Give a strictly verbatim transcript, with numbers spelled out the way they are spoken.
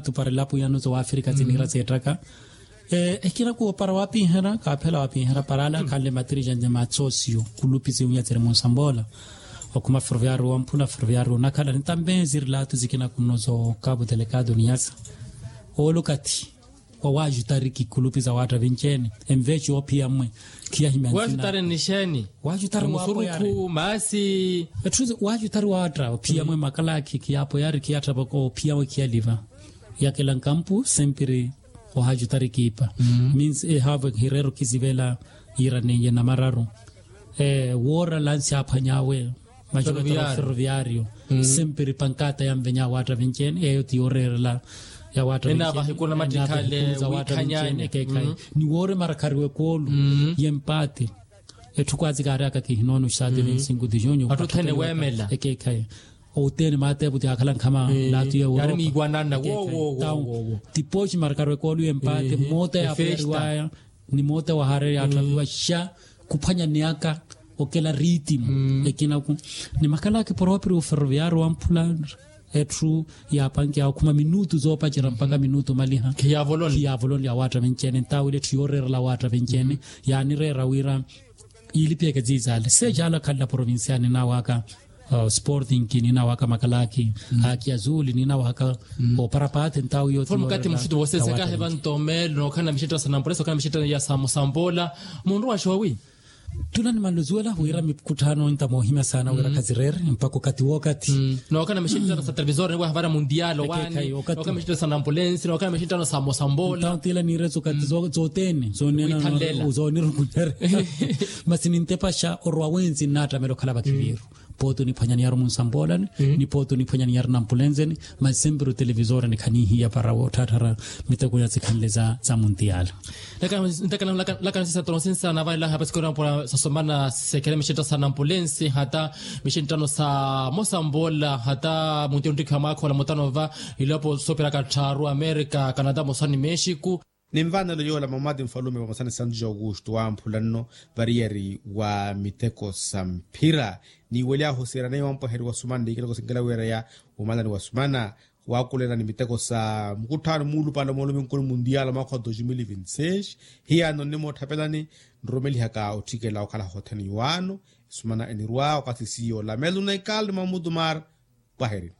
atuparela pwiyano za wafrika tiniira zeettaka. Ekina kuwo para wapiihera kaaphela wapiihera para ale akhanle matirija nje matsosiyo kulupi siwunya tsiri munsamboola. Okhuma ferroviario wamphula ferroviario onakhala nitambe ziri laatu zikina kuno zo kabu delegado niyasa. Oolo okathi wa wajutariki kulupi za waatta vinci-ene enveeci oophiya mmwe. Khiyahimya nzina. Waajutari waatta ophiya mmwe makalaakhi khiyaapoyari khiyaattapaka ophiya mmwe khiyaliva. Yakela nkampu sempiri ohaajutari kiipa. Means ehaavo hireero kisivela yiira neiye namararu. Woora lansi aaphwany'awe majokoto ferroviario. Sempiri pankata yanvenya waatta vinci-ene eyo ti yooreerela ya waatta vinci-ene. Ekeekhayi ni woore marakariwa ekoolu y'empaate. Etthu kwazi kaaryaka kihinoona oxitaati ni sinku dijunyu. Ekeekhayi oteene maateepu ti aakhala nkhama laatu ya europa. Ti pooxi marakariwa ekoolu y'empaate moota yaapuyariwaya ni moota wahaarerya yaatthaviwa xa khuphwanyaniyaka okela riitimu. Ekinaku ni makalaakhi poropiri oferroviario wamphula. Etthu yaapankiya okhuma minutu zoopacerya mpakha minutu omaliha khiyaavolonya awaatta vinci-ene ntaawile etthu yooreerela awaatta vinci-ene. Yaanireera wira yiilipiyeke ziizaale seecaala khanla provincia ninaawaka sporting ninaawaka makalaakhi haki azuli ninaawaka oparapaati ntaawu yootiyo. Mukati muxittu voosesekahe vantomeelo nookhala na mixitto ya sanampuleso ookhala na mixitto ya samusamboola. Munru wa xoowi. Tuna nimanluzuwela wira mikutthano ntamoohimya saana wira khazireere mpakha okathi wookathi. Nookhala na mixitto sa televisor niwaha vara mundial owaani. Nookhala na mixitto sa nampulensi nookhala na mixitto sa mosambola. Ntawo tila niire zookathi zooteene zoonirukunyerya. Masi nintepaxa orwa wensi nnaattamela okhala vakhiviiru. Pooti oniphwanya niyari munsamboolani ni pooti oniphwanya niyari nampulenzeni. Masi sempiri otelevisoreni khanihiya para wootthatthara miteko ya sikhanle za muntiyala. Ntakana nlaka nsisato nsinsa navalelanha pasikoro nampula sasomana sekhele mixinttano sa nampulensi hata mixinttano sa mosambola hata munti onttikhiwa mwaakha ola mutano va. Ilopo soopiraka tthaaru amerika kanada mosani mexiku. Ni nvanelo yoola mamati nfalume vamosa ni santu ja augusto wamphula nno variyari wa miteko sa mphira. Ni weli ahoserya neiwo ampweheri wa sumana ni ikiloko sinkela wiireya umalani wa sumana. Wakulela ni miteko sa mukutthano muulupale moolomi nkulu mundial mwaakha wa dos mil vinti seis. Hiyano nnimoottapelani nrumelihaka otthikela okhala hothene iwaano. Esumana enirwa okathi siyo lamelu na ikali ni mamutumar. Pwaherini.